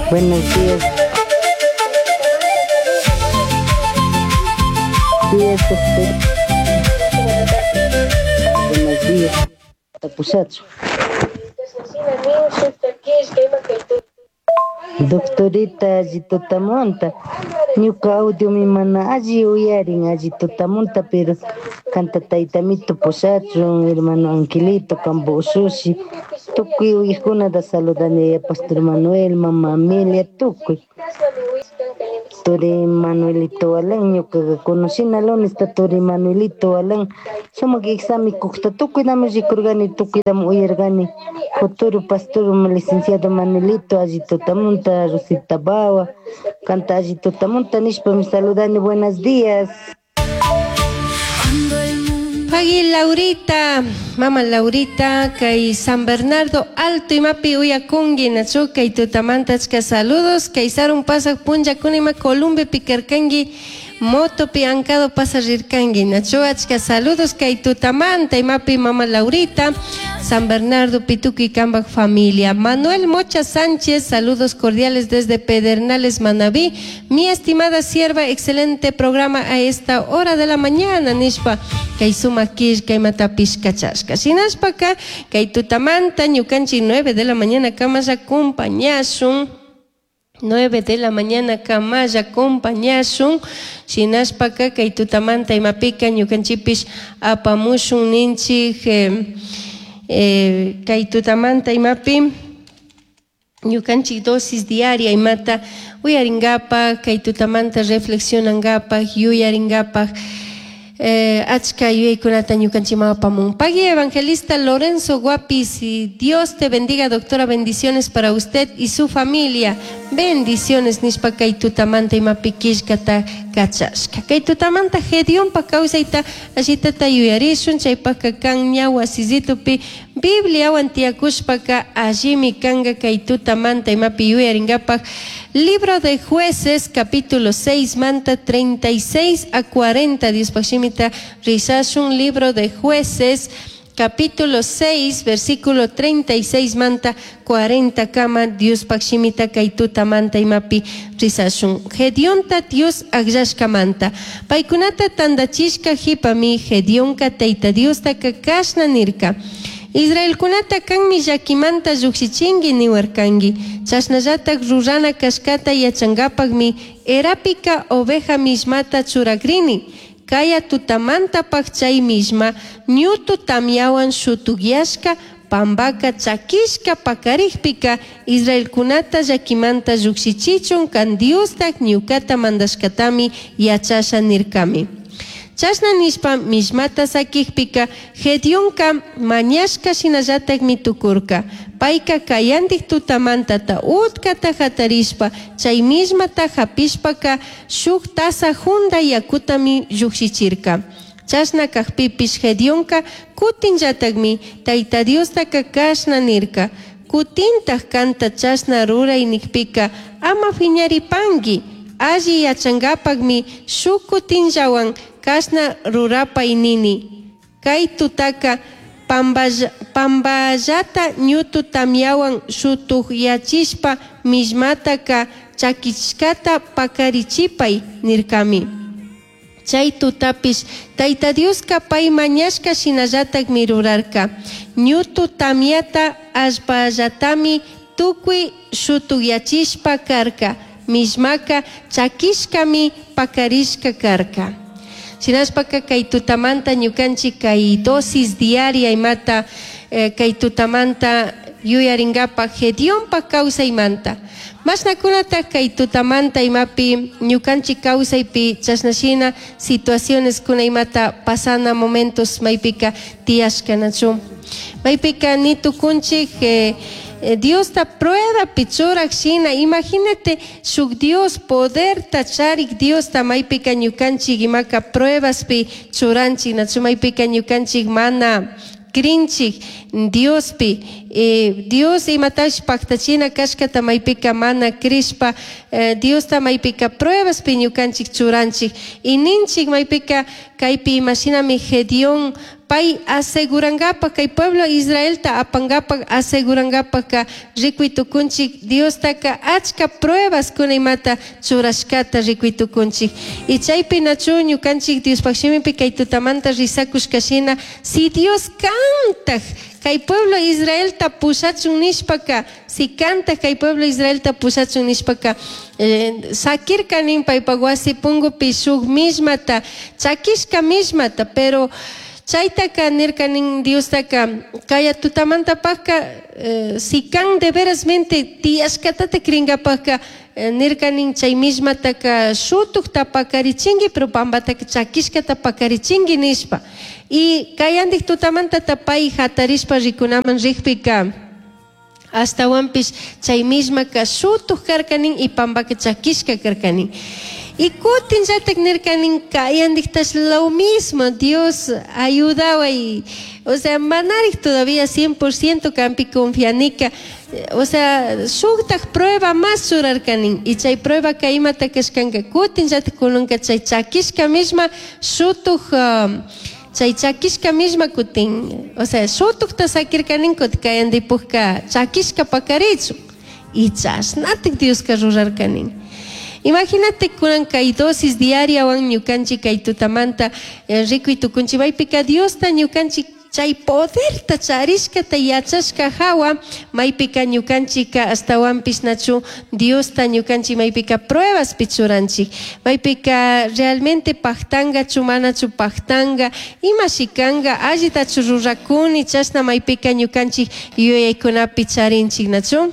Buenos días. Días, doctor. Buenos días. Pushachu. Doctorita alli tutamanta. Ñuka audiomi mana alli uyarin alli tutamunta, pero kanta taytamito pushachun, hermano Angelito, kambo ushushi, tukuy uyajkunata saludani, yaya Pastor Manuel, mama Amelia, tukuy. Turi Manuelito Alan, ñukaqa conocina lunesta turi Manuelito Alan, sumak examen kukta tukuydami rikurkani, tukuydami uyarkani. Futuro pastor licenciado Manuelito, alli tutamunta, Rosita Bawa, kanta alli tutamunta nishpami saludani, buenos días. Pagui Laurita, mama Laurita, kay San Bernardo Alto imapi uyakungi nachu kay tutamanta achka saludos, kay sarun pasaq punllakuna ima Columbiapi karkanki motopi ankado pasarirkanki nachu achka saludos kay tutamanta imapi mama Laurita, San Bernardo Pituqui kambak familia. Manuel Mocha Sánchez, saludos cordiales desde Pedernales, Manabí. Mi estimada sierva, excelente programa a esta hora de la mañana, nishpa kay sumak killka imatapish kachashka. Shinashpaka kay tutamanta ñukanchik 9 de la mañana kamalla acompañashun. 9 de la mañana kamalla acompañashun. Shinashpaka kay tutamanta imapika ñukanchikpish apamushun ninchik kay tutamanta imapi ñukanchik dosis diaria imata uyarinkapak, kay tutamanta reflexionankapak, yuyarinkapak. Achka yuyaykunata ñukanchikman apamun. Pagui evangelista Lorenzo Guapis, y Dios te bendiga, doctora, bendiciones para usted y su familia. Bendiciones nishpa kay tutamanta imapi killkata kachashka. Kay tutamanta Gedeonpa kawsayta allitata yuyarishun, chaypaka kan ña wasisitupi Bibliawan tiyakushpaka allimi kanka kay tutamanta imapi yuyarinkapak. Libro de Jueces, capítulo 6, manta 36 a 40, Diospaj shimita rizashun. Libro de Jueces, capítulo 6, versículo 36, manta 40 kama, Diospaj shimita kay tutamanta imapi rizashun. Gedeonta Dios akllashkamanta. Paykunata tandachishka jipami Gedeonka Tayta Diostaka kashna nirka. Israelkunata kanmi llakimanta lluksichinki niwarkanki. Chashnallatak rurana kashkata yachankapakmi erapika oveja mismata churakrini. Kaya tutamantapak chay misma ñutu tamyawan shutukyashka pambaka chakishka pakarikpika Israelkunata llakimanta llukshichichun kan Diostak ñukata mandashkatami yachasha nirkami. Chashna nishpa mismata sakikpika Gedeonka mañashka shinallatakmi tukurka. Payka kayantik tutamantata utkata hatarishpa chay mismata hapishpaka shuk taza junda yakutami llukshichirka. Chashna kakpipish Gedeonka kutinllatakmi Tayta Diostaka kashna nirka. Kutintak kanta chashna ruray nikpika ama fiñaripanki. Alli yachankapakmi shuk kutinllawan kashna rurapay nini. Kay tutaka pamballata ñutu tamyawan shutukyachishpa mismataka chakishkata pakarichipay nirkami. Chay tutapish Tayta Dioska pay mañashka shinallatakmi rurarka. Ñutu tamyata allpallatami tukuy shutukyachishpa karka. Mismaka chakishkami pakarishka karka. Shinashpaka kay tutamanta ñukanchik kay dosis diaria imata kay tutamanta yuyarinkapak Gedeonpa kawsaymanta. Mashnakunata kay tutamanta imapi ñukanchik kawsaypi chashnashina situaciones kuna imata pasana momentos maypika tiyashkanachu. Maypika ni tukunchik Diosta prueba churak shina, imagínate shuk Dios poderta charik Diosta maypika ñukanchik imaka pruebaspi churanchik nachu maypika ñukanchik mana krinchik Diospi, Dios imatash paktachina kashkata maypika mana krishpa, Diosta maypika pruebaspi ñukanchik churanchik y ninchik maypika kaypi imashinami Gedeón Pay asegurangapaj kay pueblo Israelta apangapaj asegurangapajka rikuy tukunchik Diostaka achka pruebaskuna imata churashkata rikuy tukunchik. Y chaypi nachu ñukanchik Diospaj shimipi kay tutamanta rizakushka shina si Dios kantaj kay pueblo Israelta pushachun nishpaka, si kantaj kay pueblo Israelta pushachun nishpaka, sakirka nin paypaj wasi pungupi shuk mismata, chakishka mismata, pero chaytaka nirka nin Diostaka kaya tutamantapajka si kan de verasmente tiyashkatata krinkapajka nirka nin chay mismataka shutukta pakarichinki pero pambataka chakishkata pakarichinki nishpa. Y kayandik tutamantata pay hatarishpa rikunaman rikpika ashtawanpish chay mismaka shutuk karka nin y pambaka chakishka karka nin. Y kutinllatak nirka nin kayandiktash lo mismo, Dios ayudaway, o sea, manarik todavía 100% kampi confianika, o sea, shuktak prueba mas churarka nin, y chay prueba ka imata kashkanka kutinllatak kunanka chay chakishka misma shutuk chay chakishka misma kutin, o sea, shutukta sakirka nin kutin kayandipukka chakishka pakarichun, y chashnatik Dioska rurarka nin. Imagínate kunan kay dosis diariawan ñukanchik kay tutamanta rikuy tukunchik maypika Diosta ñukanchik chay poderta charishkata yachashka hawa maypika ñukanchika ashtawanpish nachu Diosta ñukanchik maypika pruebaspi churanchik maypika realmente pajtangachu manachu pajtanga imashi kanga allitachu rurakuni chashna maypika ñukanchik yuyaykunapi charinchik nachu.